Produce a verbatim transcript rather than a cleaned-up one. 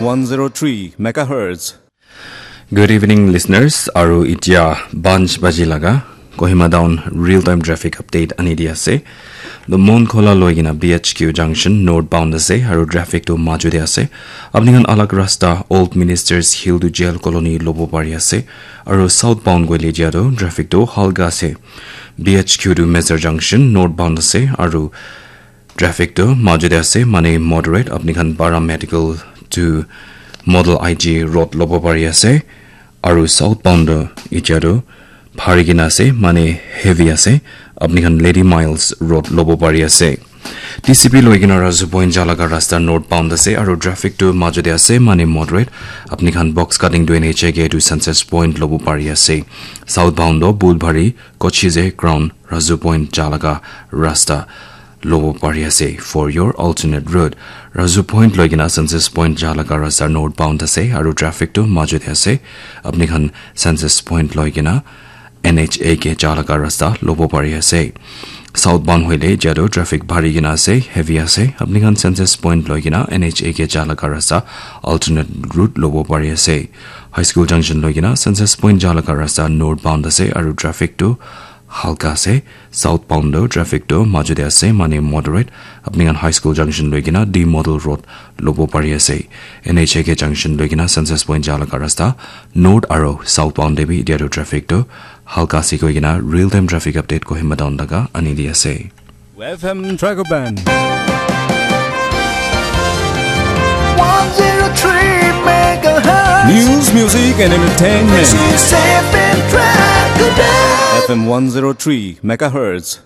one zero three megahertz. Good evening, listeners. Aru itia panch baji laga Kohima Town real time traffic update ani di ase. The Monkhola loigina B H Q junction northbound ase aru traffic tu maju de ase. Apni khan alag rasta Old Ministers Hill to Jail Colony lobo pari ase. Aru southbound goile dia tu traffic tu halka ase. B H Q to Mesar junction northbound ase aru traffic tu maju de ase, mane moderate. Apni khan Para Medical to Model I G road lobo pari ase. Aru southbound tu itia tu bhari kena ase, mane heavy ase. Apni khan Lady Miles road lobo pari ase. T C P loigina Razu Point jalaga rasta northbound ase aru traffic tu maju de ase, mane moderate. Apni khan box cutting to N H A ke to Census Point lobo pari ase. Southbound tu Budhbari Kochize Crown Razu Point jalaga rasta lobo pari ase. For your alternate route, Razu Point loigina Census Point jalaga rasta northbound ase aru traffic tu maju de ase. Apni khan Census Point loigina N H A ke jalaga rasta lobo pari ase. Southbound hoile jado traffic bhari kena ase, heavy ase. Apni khan Census Point loigina N H A ke jalaga rasta alternate route lobo pari ase. High School Junction loigina Census Point jalaga rasta northbound ase aru traffic tu halka ase. Southbound tu traffic tu maju de ase, mane moderate. Apni khan High School Junction loigina D Model Road lobo pari ase. N H A ke junction loigina Census Point jalaga rasta north aru southbound de bi itia tu traffic tu halka ase koigina real time traffic update Kohima Town laga ani di ase. F M Dragoban. one zero three megahertz. News, music, and entertainment. This is F M Dragoban. F M one zero three megahertz.